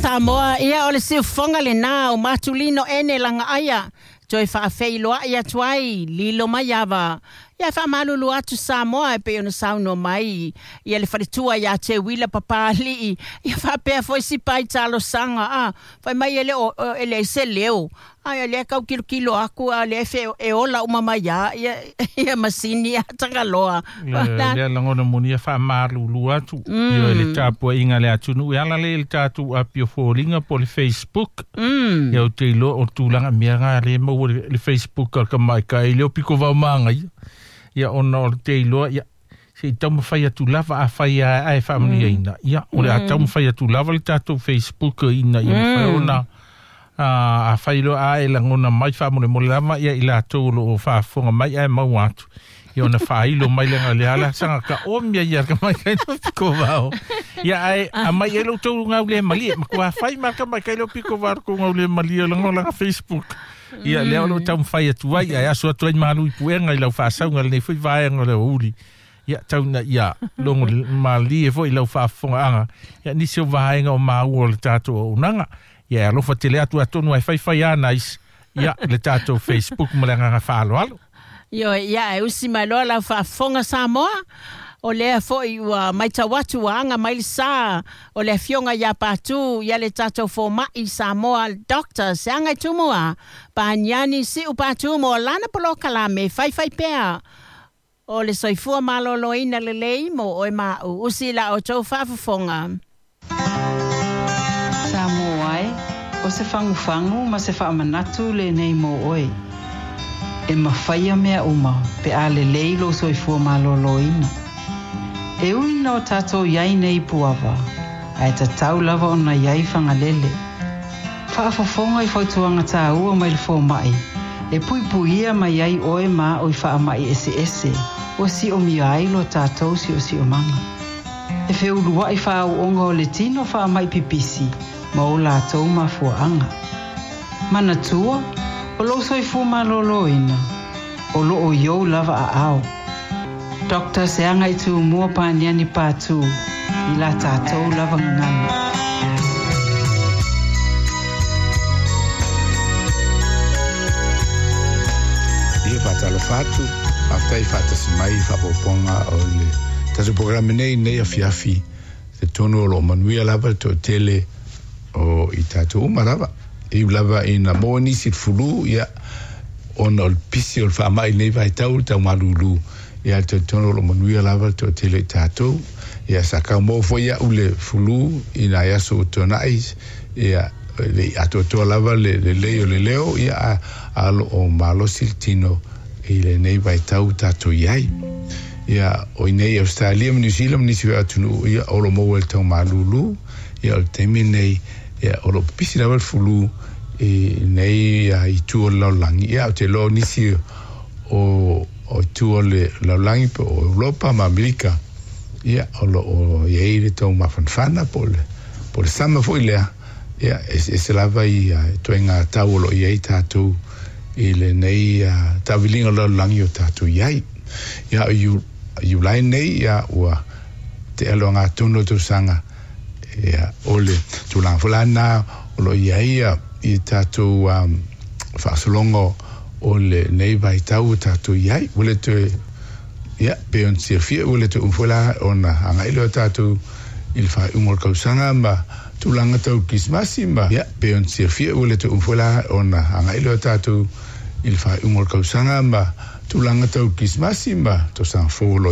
Samoa, ia o le siufofoga lenā o Matulino ene lagaaia toe faafeiloai atu ai lilo mai ava. Ia faamalulu atu Samoa e pei ona saunoa mai ia le faletua ia te Wila Papali'i ia faapea foi sipa i talosaga a fai mai e le o e leai se leo a lea tau kilokilo aku a lea fe e ola uma mai a ia ia masini a tagaloa. Lea lagona moni e faamalulu atu ia le tapuaiga a le atunuu e ala lea i le tatou api o foliga po o le Facebook. Ia ou te iloa o le tulaga mea na lea e maua le Facebook a le tamaitai lea o pito vao magaia. Ia ona o le te iloa ia se i taumafai atu lava afai ae faamanuiaina. Ia o le a taumafai atu lava le tatou Facebook ina ia mafai ona afai loa ae lagona mai faamolemole lava ia i latou o lo o faafofoga mai ae maua atu. Ia ona faailo mai lea le ala saga ka o mea ia ka mai kai no piko vao. Ia ae aumai ai lo outou gaule malie matua fai ma ka mai kai lo piko vao ko gaule malie laga Facebook. Ia lea o lo o taumafai atu ai ae aso atu ai malu i puega i lau faasauga lenei foi vaega o le aoauli. Ia tau ina ia logo malie foi i lau faafofogaaga ia nisi o vaega o maua o le tatou auaunaga. Ia e alofa tele atu atonu ai faifai a nais ia le tatou Facebook ma le agaga faaaloalo. Ioe, ia e usi mai loa lau faafofoga Samoa, o lea foi ua matau atu ua aga mai le sa o le Afioga ia Patu ia le tatou fomai Samoa Doctor Seagaitumua Paniani Siu Patu mo lana polokalame faifai pea o le soifua maloloina lelei mo oe ma au. Usi i la outou faafofoga. Samoa e, o se fagufagu ma se faamanatu lenei mo oe. E mafaia mea uma pe a lelei lou soifua malōlōina. E ui ina o tatou i ai nei i Puava, ae tatau lava ona i ai Fagalele. Faafofoga i fautuaga tāua mai le fomai, e puipuia mai ai oe ma au i faamai eseese ua siomia ai lo tatou siosiomaga. E feuluaʻi faaauauga o le tino faamai pipisi ma o latou mafuaaga. Manatua, o lou soifua malōlōina, o loo i ou lava aao. Doctor Seagaitumua Paniani Patu i la tatou lava gagana. Ia faatalofa atu, faafetai faatasi mai i faaopoopoga o le tatou polokalame nei i lenei afiafi, talitonu o lo o manuia lava le toatele o i tatou uma lava. E ui lava ina maua nisi i le fulu, ia, ona o le pisi o le faamai i lenei vaitau, le tau malūlū, ia, e talitonu o lo o manuia lava le toatele o i tatou. Ia, sa tau maua foi iaʻu le fulu i nai aso ua tuanai, ia, e le i atoatoa lava le lelei o le leo, ia, a, a o lo o malosi le tino i lenei vaitau ua tatou i ai. Ia, o i nei i Ausetalia ma Niu Sila ma nisi foi o atunuu, ia, o lo o maua i le tau malūlū, ia, o le taimi lenei, ia, o lo o pipisi lava le fulu i nei itu o le lalolagi, ia, ou te iloa o nisi o o itu o le lalolagi po o Europa ma Amerika, ia, o lo o i ai le tau mafanafana po o le po o le sama foi lea, ia, e eseese lava i ituaiga tau o lo o i ai tatou i lenei taaviliga o le lalolagi o tatou i ai. Ia, o Iulai nei, ia, ua tea le ogatotonu o le tausaga, Ia, o le tulaga foi la lena o lo o i ai i tatou faasologa o lenei vaitau ua tatou i ai. Ua le toe, ia, pei ona silafia ua le toe umi foi la ona agai lea o tatou i le faaiuga o le tausaga ma tulaga tau Kerisimasi ma, ia, pei ona silafia ua le toe umi foi la ona agai lea o tatou i le faaiuga o le tausaga ma tulaga tau Kerisimasi ma tausaga fou o lo o i.